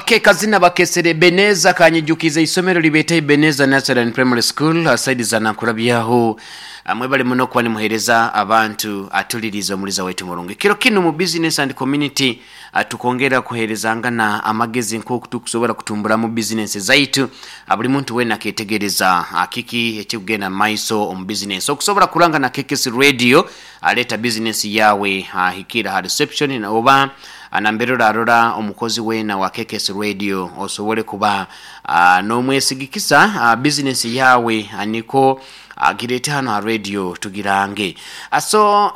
Ake kazina bakesere Ebeneza kanyijukiza isomero libeeta Ebeneza Nursery and Primary School saidi za Nankurabyaho. Mwebale muno kuba nimuhereza abantu atuliriza omuliza waitu murungi. Kiro kinu mu business and community tukongera kuherezangana amagezi nk'oku tukusobora kutumburamu business zaitu. Buli muntu wena aketegereza kiki ekikugenda mu maiso omu business. Okusobora kuranga na KKC Radio aleeta business yawe hikira ha reception oba nambere orarora omukozi weena wa KKS Radio osobole kuba nomwesigikisa business yawe niko agirete hano ha radio tugirange. So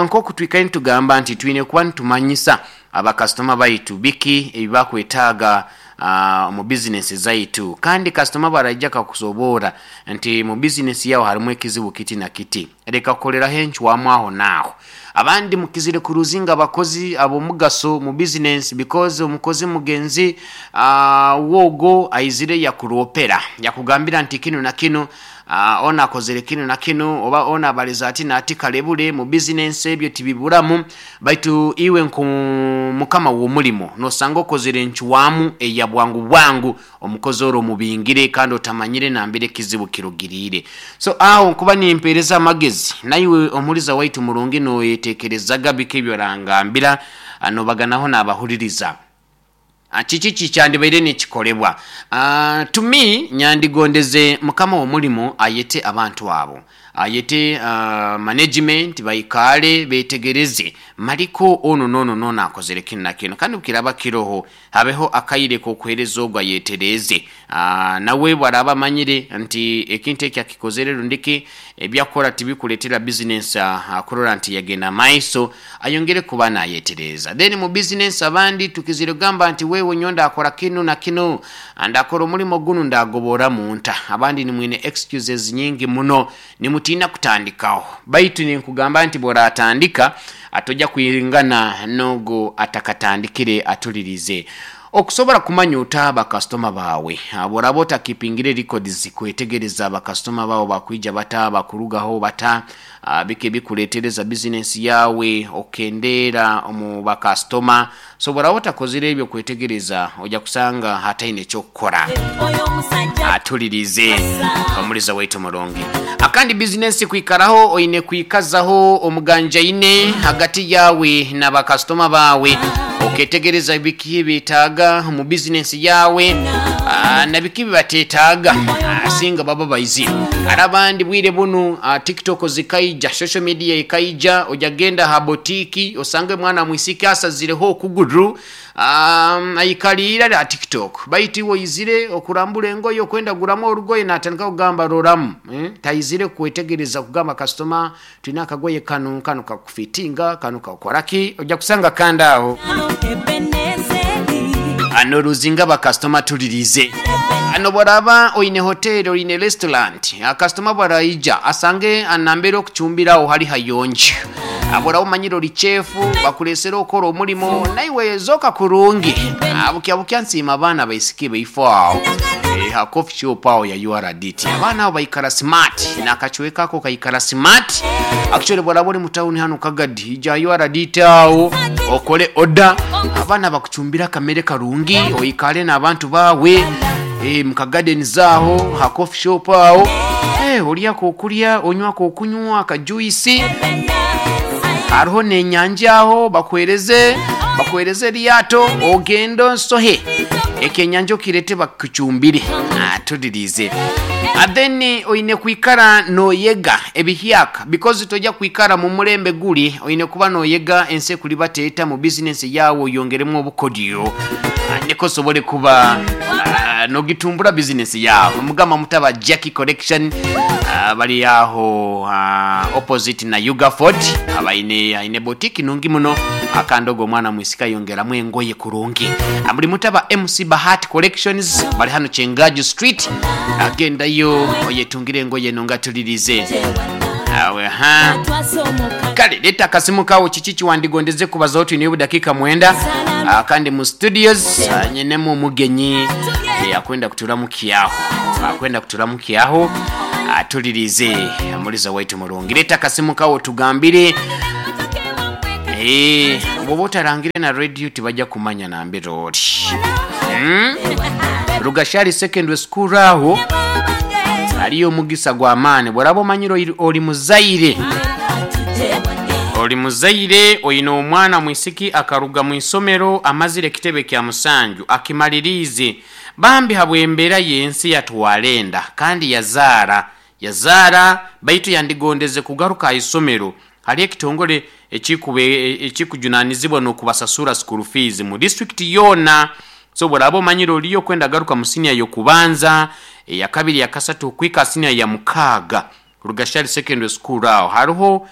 nkoku twikaire nitugamba nti twine kuba nitumanyisa abakasitoma baitu biki ebibakwetaaga omu business zaitu kandi kasitoma bwaraija akakusoboora nti mu business yawe harimu ekizibu kiti na kiti leka kukoleraho encwamu aho naaho. Abandi mukizire kuruzinga abakozi ab'omugaso mu bizinensi because omukozi mugenzi wo ogwo aizire yakuroopera yakugambira nti kinu na kinu onu akozere kinu na kinu oba onu abalize ati n'ati kalebule mu bizinensi ebyo tibiburamu baitu iwe nk'omukama w'omulimo nosanga okozere encwamu eya bwangu bwangu omukozi ori omubingire kandi otamanyire nambere ekizibu kirugiriire. So aho nkuba nimpereza amagezi naiwe omuhuriza waitu murungi noyetekerezaga biki ebi orangambira nobaganaho nabahuririza. Kiki kikyandibaire nikikolebwa? To me nyandigondeze mukama w'omulimo ayete abantu abo ayete management baikaale betegereze mariko onu n'onu n'onu akozere kinu na kinu kandi bukiraba kiroho habeho akaire k'okuhereza ogu ayetereeze. Nawe bwaraba amanyire nti ekintu eki akikozere rundiki ebyakukora tibikuletera bizinensi kurora nti yagenda maiso ayongere kuba nayetereeza. Then mu bizinensi abandi tukizire kugamba nti wewe nyowe ndakora kinu na kinu ndakora omulimo gunu ndagoboramu nta. Abandi nimwine excuses nyingi muno nimutiina kutandikaho baitu ninkugamba nti bworatandika tojja kwingana n'ogu atakatandikire atulirize. Okusobora kumanya ota bakasitoma baawe bworaba otakipingire records kwetegereza bakasitoma baawe bakwija bata bakurugaho bata biki ebikuletereza bizinensi yawe okendeera omu bakasitoma so bworaba otakozire ebyo kwetegereza oja kusanga hataine ekyokukora. Atulirize omuliza waitu omurungi. Akandi bizinensi kwikaraho oine kwikazaho omuganjaine hagati yawe na bakasitoma baawe oketegereza biki ebyetaaga omu bizinensi yawe na biki ebibatetaaga singa baba baizire. Hare abandi bwire bunu tiktok zikaija, social media ekaija, oja genda aha botiki osange omwana mwisiki asazireho okuguru aikaliire ari aha tiktok baitu iwe oizire okurambura engoye okwenda kuguramu orugoye natandika kugamba roramu taizire kwetegereza kugamba kasitoma twine akagoye kanu, kanu kakufitinga, kanu kakukoraki oja kusanga kandi aho noruzinga bakasitoma tulirize. Nobworaba oine hoteri oine restaurant kasitoma bwaraija asange nambere okucumbiraho hari hayonjo. Bworaba omanyire ori chefu bakuresere okora omurimo naiwe zooka kurungi. Bukya bukya nsiima abaana abaisiki baifo aho ha coffee shop aho ya URDT. Abaana abo baikara smart nakacweka ako kaikara smart. Actually bworaba ori mu town hanu Kagadi ija ha URDT aho okore order abaana bakucumbire akamere karungi oikare n'abantu baawe mu ka gardens aho ha coffee shop aho oryako okurya onywako okunywa aka juice hariho n'enyanja aho bakuhereze bakuhereze eryato ogende osohe ekyenyanja okirete bakucumbire tulirize. Then oine kwikara noyega ebihyaka because toja kwikara mu murembe guri oine kuba noyega ensi ekuribateeta mu bizinensi yawe oyongeremu obukodyo niko osobole kuba nogitumbura bizinensi yawe. Mugamba mutaba Jackie Collection bari aho opposite na Ugaford abaine aine botiki nungi muno akandi ogwo omwana mwisika ayongeramu engoye kurungi. Buri mutaba MC Bahati Collections bari hano Kyengaju Street agendayo oyetungire engoye nungi atulirize. Awe ha. Kale leta akasimu kawe kiki kiwandigondeze kubazaho twine obudakiika mwenda kandi mu studios nyinemu omugenyi akwenda kuturamukiaho akwenda kuturamukiaho atulirize omuliza waitu murungi. Leta akasimu kawe otugambire. Eh, bwoba otarangire na radio tibajja kumanya nambere ori. Rugashari Secondary School aho hariyo omugisa gw'amaani. Bworaba omanyire ori muzaire, ori muzaire oine omwana mwisiki akaruga mu isomero amazire ekitebe kya musanju akimaliriize, bambi habw'embeera y'ensi yatwara enda kandi yazaara, yazaara baitu yandigondeze kugaruka aha isomero. Hariyo ekitongore ekikujunanizibwa n'okubasasura school fees mu district yoona. So bworaba omanyire oriyo okwenda garuka mu siniya y'okubanza, eyakabiri, eyakasatu okuhika aha siniya ya mukaaga, Rugashari Secondary School aho hariho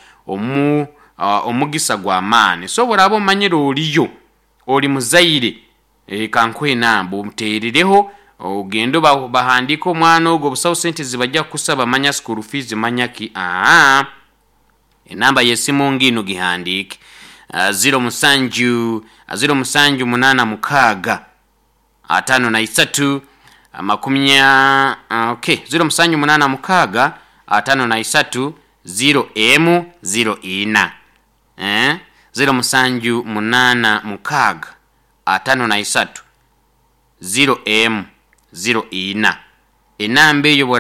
omugisa gw'amaani. So bworaba omanyire oriyo ori muzaire, kankuhe enamba omuteerereho ogende bahandiike omwana ogwo, busaho sente zibajja kukusaba manya school fees manya ki. Aa enamba y'esimu ngiinu gihandiike: 07 07 86 53 makumya, okay, 07 86 53 0 emu 0 ina, eh? 07 86 53 0 emu 0 ina, enamba eyo.